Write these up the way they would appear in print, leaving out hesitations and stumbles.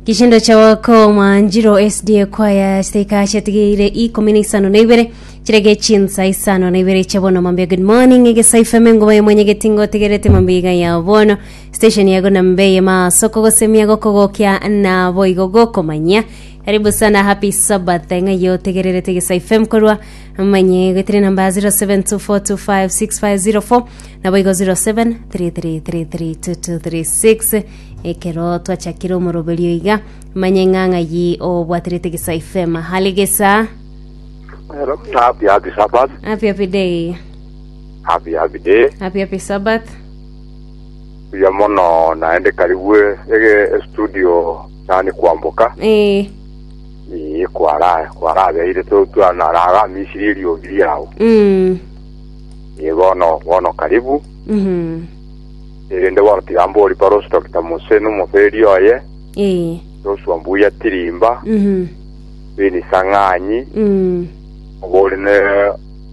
Kishindo cha wako mwanjiro SDA kwaya siteika chiatigeire ikomi na isano na ibere chirege chinsa isano na ibere chia bono mambia good morning egesaifa mengo ya mwenye getingo tegerete mambia iga ya bono station yago na mbeye masoko gosemia gokogokia na boigo gokomanya karibu sana happy sabbath ng'a yo tegererete egesaifa mkorwa manye getire namba 0724256504 nabo igo 0733332236 Ekero twachakire omoroberio iga, manye ng'a ng'ai obwaterete gesa ifema. Hali gesa. Hello. Happy happy Sabbath. Happy happy day. Happy happy day. Happy happy Sabbath. Buya mono naende karibu ege studio nani kwamboka. Eh. Ee kwara kwarabeire to twanaragamisiri eriogi riao. Mm. Ee bono bono karibu. Mhm. Erinde bono tiga mbori Parosi Doctor Mose nomoferi oye, Ee. Joshua Mbuya Tirimba, Mhm. Beni Sang'anyi, Mm. obori ne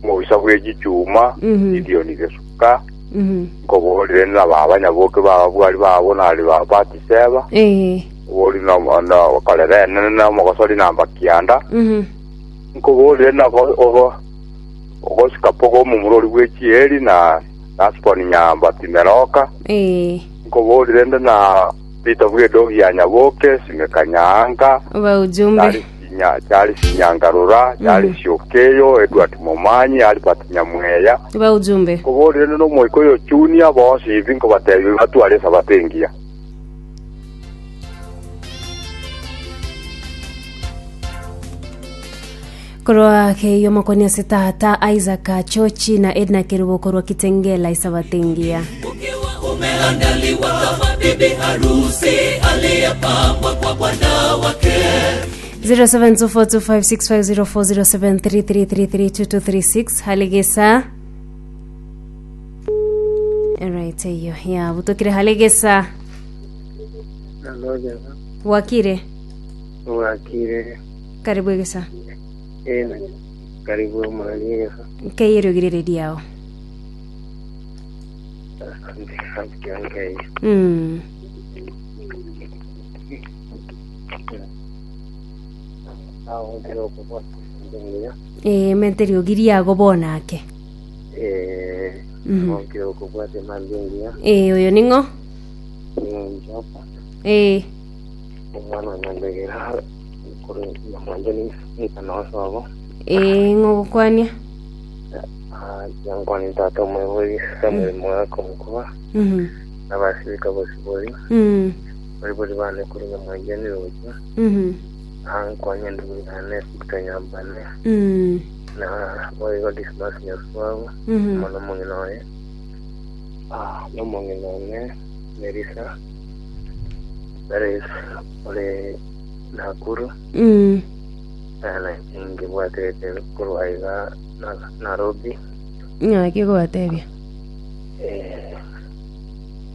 omobisa bwe chichuma, Mhm. Gideon Gesuka, Mhm. nkoborire na baba Nyaboke baba bwari babo nari ba Batiseba, Ee. obori na na korera enene na omogosori namba kianda, Mhm. nkoborire na go- ogo ogosika pogo omomura ori bwe chieri na Gasponi Nyambati Meroka, Ee. nkoborire nde na Peter bw'edogi ya Nyaboke, Simeka Nyaanga, Oba ujumbe. Charles Nya- Charles Nyangarora, Charles Okeyo, Edward Momanyi, Albert Nyamweya. Oba ujumbe. Nkoborire nde n'omoika oyo Junior, bonsi ibi nkobatebia batware esabato engiya. Korwa keiyo makoni ase tata Isaac Chochi na Edna Kerubo korwa Kitengela Isabato engiya. Ukiwa umeandaliwa kama bibi harusi aliyepambwa kwa bwana wake. 07242565040733332236 haligesa Alright, eyo ya butokire haligesa Nalogeza. wakire Wakire. karibu egesa Eh, na karibu omorari egesa. Nkeyerogire redio yao. Asante, asante nkeye. Aho nkere okobwata ngiya. Eh, mente riogi riago bono ake. Eh, aho nkere okobwata mambia ngiya. Eh, oyo ning'o? Njoka. Eh. Omwana onyambegera korwa nyamwancho ninka nosobo. Ee, ng'o ogokwania? Ah, Yankwane tata omoibori Samuel Mogaka Omokuba Mhm. na abasibika bosibori Mm. abaibori bane korwa Nyamwancho Nirocha Mhm. ankwanye endugu yane Victor Nyambane Mm. na boigo Dismas Nyaswago Mhm. amo nomong'ina oye Ah, nomong'ina one Melissa Perez ore Nakuru Mm. na nkebwaterete korwa iga na- Nairobi Ng'aki okobatebia? eh,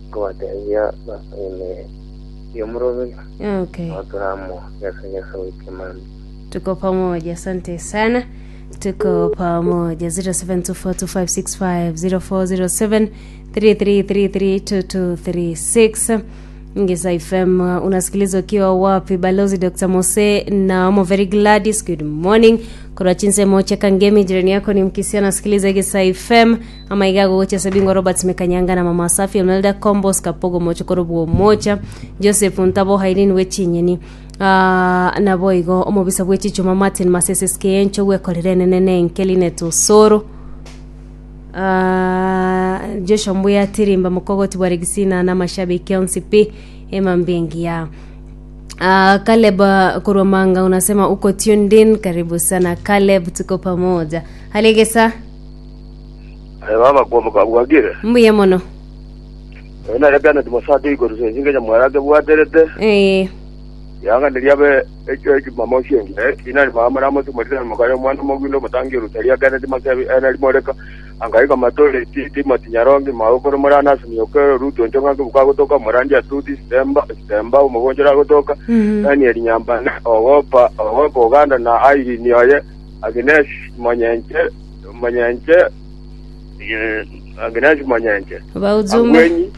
nkobatebia basome yomuroberi Okay. oturamo gesa gesa wiki mami Tuko pamoja, asante sana. Tuko pamoja 07242565 0407 33332236 Ngesa FM uh, unasikiliza ukiwa wapi? Balozi Dr. Mose na Omo Very Gladys, good morning. Korwa chinse moche kangemi jirani yako ni mkisia anasikiliza Gesa FM ama igago gocha Sabingo Robert Mekanyanga na Mama Safi Imelda Kombos Kapogo Mocho Korobuo Mocha Joseph Ntabo Hailin Wechinyeni Ah, naboigo omobisa bwe chichuma Martin Masese Skiencho gwekorera enene nenke Linet Osoro Ah, Joshua Mbuya Tirimba Mokogoti bwa Regisina na mashabiki onsi pi emambia engiya Uh, Caleb uh, korwa Manga unasema uko tuned in. Karibu sana Caleb, tuko pamoja. Haligesa Aye baba kwamboka bwakire. mbuya mono. Oyo nare Bernard Mosati igoro sensinge nyamwera kebwaterete. Eh, Yang'aneria abe ekio ejumamosi engiya ekina mama namosumorire mokare omwana omogwinde omotangi orusaria Kennedy Masebi Henry Moreka Angaika Matore Ti- Timothy Nyarongi Magokoro Morana Asumi Okero Ruth Onchong'a Nkibuka agotoka Morandi Atuti Sitemba Sitemba omogonchore agotoka Daniel Nyambane Ogopa Ogopa Oganda na Irene oye Agnes Monyenche Monyenche eh, Agnes Monyenche Baujumbe. Angwenyi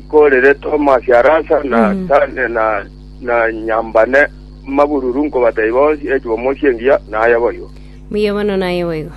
Nkorere Thomas Arasa na na, na. na Nyambane Mabururu nkobatebia bonsi ejumamosi engiya, naye boigo. Mbuya mono naye boigo.